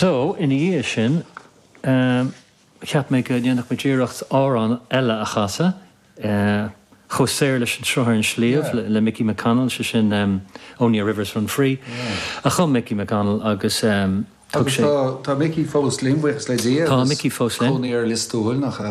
So, ina dhiaidh sin, cheap mé go ndéanfadh muid iarracht amhrán eile a chasadh, Chomh Saor leis an Sruth ar an Sliabh le Mickey McConnell, sé sin Only a Rivers Run Free, a chum Mickey McConnell agus thug sé. Agus tá Mickey fós linn, buíochas le Dia. Tá Mickey fós linn. Cónaí air i Lios Tuathail, nach ea?